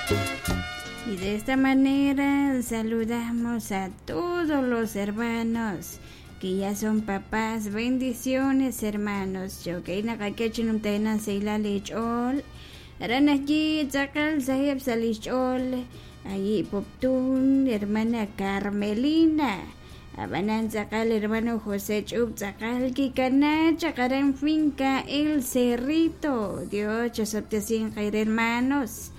Y de esta manera saludamos a todos los hermanos que ya son papás. Bendiciones, hermanos. Jo'kan naqak'e chi numtajenaq sahilal eech'ool. Aran ajwi' tz'aqal saheb' sa' li xch'ool ayi' Poptún, hermana Carmelina. Ab'anan tz'aqal hermano José Ch'ub tz'aqal kikana chaq aran finca El Cerrito. Dios chosob'tesinq eere, hermanos.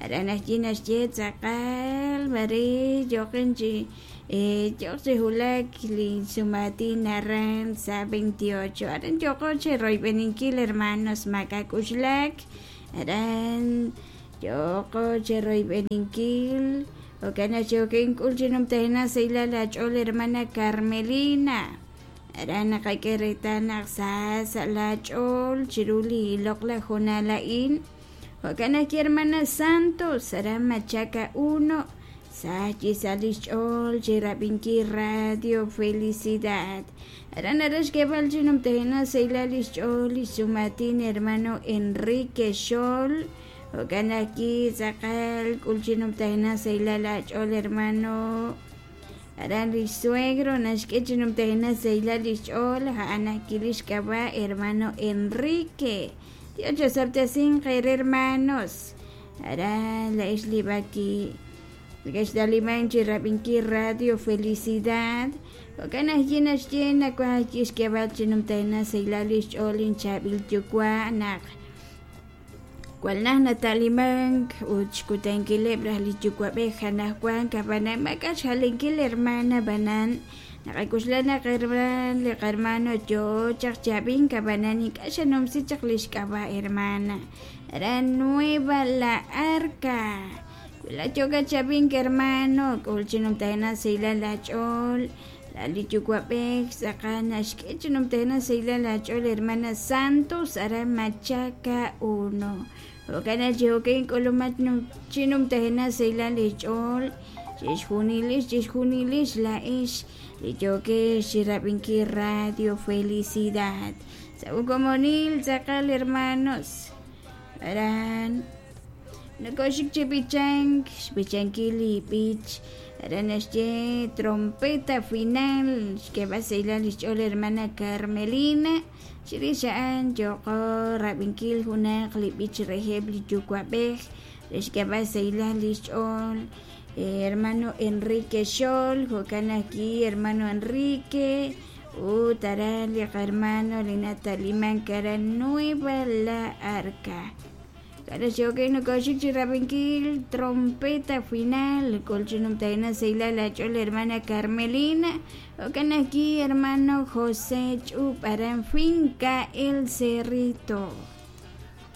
Aran ajwi' naxye tz'aqal mare yoqin chi yoq chi wulak li sumaatin aran sa' 28. Aran yoqo chi royb'eninkil, hermanos, maak'a'k'uxlak. Aran yoqo chi royb'eninkil. Jo'kan naq yokin k'ul chi numtajenaq sahilal aach'ool, hermana Carmelina. Aran naqak'e reetal naq sa sa' laach'ool chiru li loq'laj hoonal a'in. Jo'kan ajwi' hermana Santos, aran Machaca 1, sa chi sa' li xch'ool chi rab'inkil Radio Felicidad. Aran nara xk'eeb'al chi numtajenaq sahilal li xch'ool li xsumaatin hermano Enrique Xol. Jo'kan ajwi' tz'aqal k'ul chi numtajenaq sahilal aach'ool, hermano. Aran li xsuegro naxk'e chi numtajenaq sahilal li xch'ool a'an ajwi' li xk'ab'a' hermano Enrique. Dios chosob'tesinq eere, hermanos. Aran la'ex li b'aki neke'xtaliman chi rab'inkil Radio Felicidad. Jo'kan ajwi' naxye nawaj ajwi' xk'eeb'al chi numtajenaq sahilal li xch'ool inchaab'il yuwa' naq Jwal naj nata'limank ut xkutankileb' raj li yuwa'b'ej anajwan ab'anan maak'a' xjalenkil hermana ab'anan naqak'oxla naq herman li qahermano yoo chaq chi ab'ink ab'anan ink'a' xanumsi chaq li xk'ab'a' hermana aran Nueva La Arca wi laat yookat chi ab'ink hermano k'ul chi numtajenaq sahilal aach'ool la li yuwa'b'ej tz'aqal naxk'e chi numtajenaq sahilal aach'ool hermana Santos aran Machaca 1 jo'kan naq chi jo'kan k'ulumat chi numtajenaq sahilal eech'ool chixjunilix chixjunilix laa'ex li yookex chi rab'inkil Radio Felicidad sa' ukomonil tz'aqal hermanos aran Nokoxik chi b'ichank, xb'ichankil li b'ich aran naxye trompeta final, xk'eeb'al sahilal li xch'ool hermana Carmelina, chirix a'an yooqo rab'inkil junaq li b'ich reheb' li yuwa'b'ej re xk'eeb'al sahilal li xch'ool hermano Enrique Xol, jo'kan ajwi' hermano Enrique ut aran li qahermano li natalimank aran Nueva La Arca. K'a'ru xyo'oken nokoxik chi rab'inkil trompeta final k'ul chi numtajenaq sahilal aach'ool hermana Carmelina jo'kan ajwi' hermano José Ch'ub aran finca El Cerrito.